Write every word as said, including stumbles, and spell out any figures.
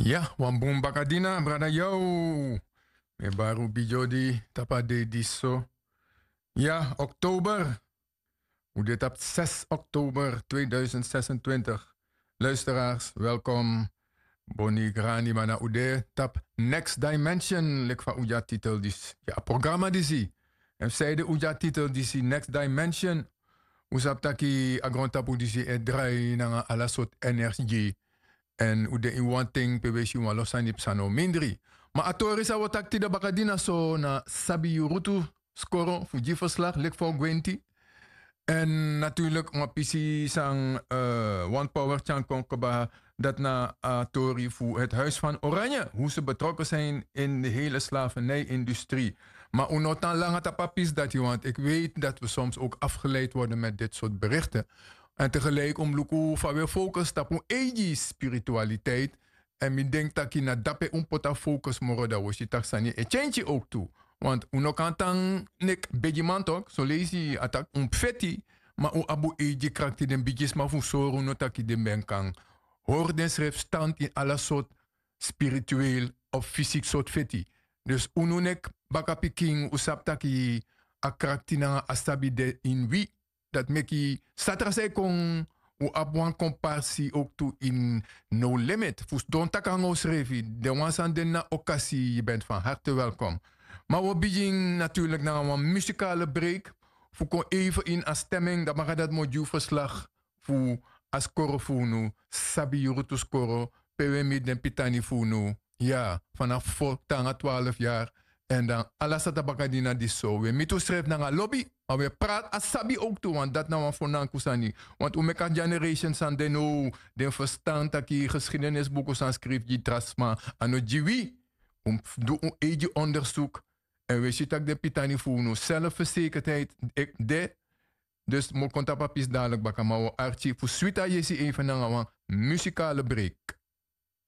Ya, wan bun bakadina, brada Yow. Mi e bari un bigi odi tapu a dei disi so. Ya, oktober. Un de tapu zes oktober tweeduizend zesentwintig. Luisteraars, welkom. Boni grani, ma na un de tapu Next Dimension, leki fa un de a titel disi. Ya, a programa disi. Èn sanede un de a titel disi, Next Dimension. Un sabi taki a grontapu disi e drai nanga ala sortu energie. Èn un de ini wan ten pe un e si wan lo sani psa, no mindri. Ma a tori san un o taki tide bakadina so na sabi yu rutu skoro fu gi verslag leki fa un gwenti. Èn natuurlik wan pisi san, eh, wan power tyari kon kaba, dati na a tori fu het Huis van Oranje, hoe ze betrokken zijn in de hele slavernij-industrie. Ma un no tan langa tapu a pisi dati, want ik weet dat we soms ook afgeleid worden met dit soort berichten. Èn tegelijk un mus luku fa un e focus tapu un eigi spiritualiteit. Èn mi denki taki na dape un poti a focus moro, dan un o si taki sani e tyentyi ook tu. Want un no kan tan leki begiman tok, son leisi a taki un mus feti, ma un abi un eigi krakti, den bigisma fu un sori unu taki den ben kan hori densrefi stand ini ala sortu spiritueel of fysiek sortu feti. Dus unu leki bakapikin, un sabi taki a krakti nanga a sabi de ini wi. Dati meki san tra san e kon, un abi wan komparsi ook tu ini No Limit fu sidon taki nanga unsrefi. Den wan san de ini a okasi, yu bent van harte welkom. Ma un o bigin natuurlijk nanga wan muzikale break fu kon even ini a stemming, dan meki dati mi o gi un verslag fu a skoro fu unu, sabi yu rutu skoro, pe un e miti den pitani fu unu. Ya, vanaf fo te nanga twaalf yari. Èn dan ala sata bakadina disi so, un e miti unsrefi nanga lobi, ma un e prati a sabi ook tu, want dati na wan fo nanku sani. Want un meki a generation san de now, den ferstan taki geschiedenisbuku san skrifi gi tra sma, a no gi wi. Un mus du un eigi onderzoek. Èn un e si taki den pitani fu unu, zelfverzekerdheid e de. Dus mi o kon tapu a pisi dadelijk baka, ma un o arki fu switi a yesi even nanga wan muzikale break.